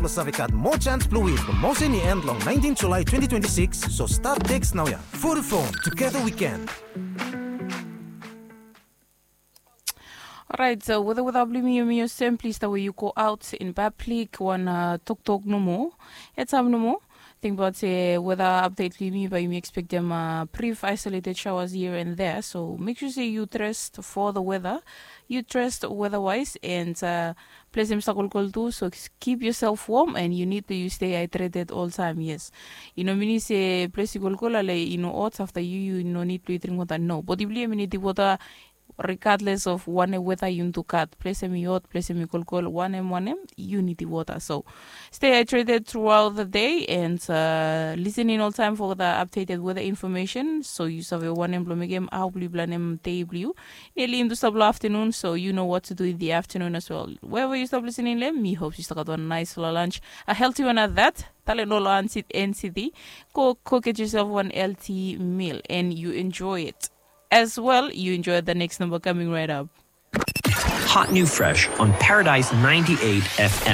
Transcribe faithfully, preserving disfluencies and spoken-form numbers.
blong save gat moa jans blong win. Promoshen i en long naentin Julae twenti twenti sikis, so stat teks naoia. Vodafone, together we can. Orait, so weda weda blong yumi yumi olsem, plis tawe yu go aut in pablik wan toktok nomo, heads up nomo. Tingbaot se weda apdet blong yumi, bae yumi ekspektem brif aesoleted shaoas hia and thea. So mek sua se yu dres fo the weda, yu dres weda waes, and ples hem i stap kolkol tu. So kip yosel wom, and yu nid blong yu stei haedreted oltaem. Yes, i no minim se ples i kolkol ale i no hot afta yu yu no nid blong yu dring wota. No, bodi blong yu hem i nidim wota regardless of wanem weda yu nidim gat. Ples hem i hot, ples hem i kolkol, wanem wanem, yu nidim wota. So stay hydrated throughout the day and listening oltaem for the updated weather information, so yu save wanem blong mekem, hao blong yu blanem dei blong yu. Niali intustab long aftenun, so you know what to do in the afternoon as well. Wherever yu stap listening long hem, mi hop yu stap gat wan naesfala lunch, a healthy one at that. Talen ol ansit ensiti, go go get yourself one healthy meal and you enjoy it as well. You enjoy the next number coming right up. Hot new fresh on Paradise ninety-eight F M.